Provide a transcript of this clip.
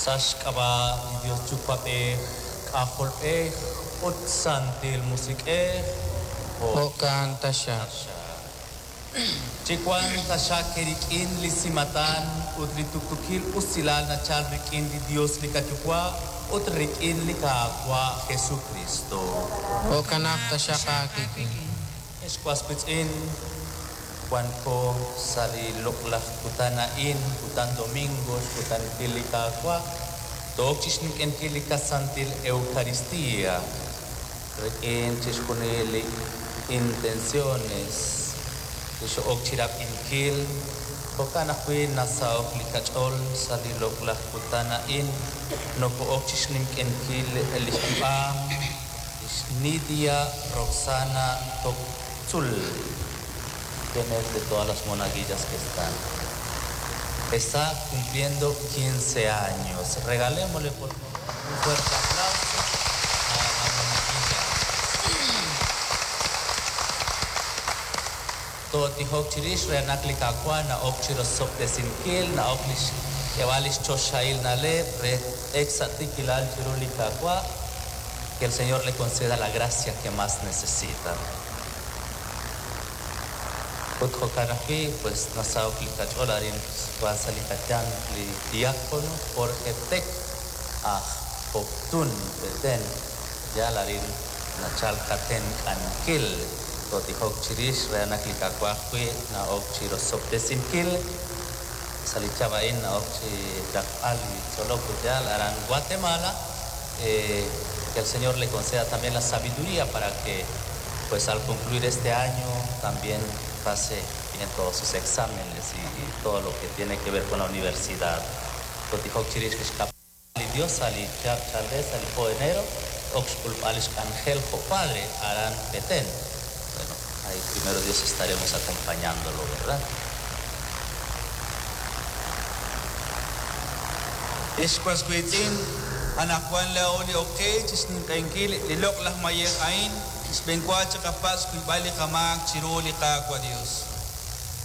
Sa' xk'ab'a' li Dios Yuwa'b'ej, K'ajolb'ej ut Santil Musiq'ej. Jo'kan taxaq. Chiwanq taxaq eerik'in li simatan ut li tuqtuukil usilal nachal rik'in li Dios li qaYuwa' ut rik'in li Qaawa' Jesukristo. Jo'kanaq taxaq aawik'in. Ex was wiitz'in, wanko sa' li loq'laj kutan a'in, kutan domingo, xkutankil li Qaawa', took chixninq'ehinkil li qasantil Eucaristía rik'in chixjunil li intenciones li xo'ok chirab'inkil. Jo'kan ajwi' nasahok li qach'ool sa' li loq'laj kutan a'in, noko'ok chixninq'ehinkil li xyu'am lix Nidia Roxana Toktzul, quien es de todas las monaguillas que están. Está cumpliendo 15 años. Regalémosle, por favor, un fuerte aplauso a la monaguilla. Tootijok chirix re naq li Qaawa' na'ok chirosob'tesinkil, na'ok lix k'eeb'al lix choxahil na'leb' re ek sa' tiikilal chiru li Qaawa', que el Señor le conceda la gracia que más necesita. Ut jo'kan ajwi', pues nasahok li qach'ool arin wan sa' li qayanq li diácono Jorge Tec aj Poptún, Petén, yal arin nachal qatenq'ankil. Tootijok chirix re naq li Qaawa' ajwi' na'ok chirosob'tesinkil sa' li chihab' a'in na'ok chi raqb'al li tzolok ut yal aran Guatemala, que el Señor le conceda también la sabiduría para que, pues, al concluir este año también pase bien todos sus exámenes y todo lo que tiene que ver con la universidad. Tootijok chirix lix li Dios sa' li chihab' chalel sa' li po enero ok xk'ulb'al lix k'anjel jo' padre aran Petén. Bueno, ahí primero Dios estaremos acompañándolo, ¿verdad? Ex was wiitz'in, anaqwan laa'o li ok qe chixninq'ehinkil li loq'laj mayej a'in, xb'enwa chiqapatz' xkuyb'al li qamaak chiru li Qaawa' Dios.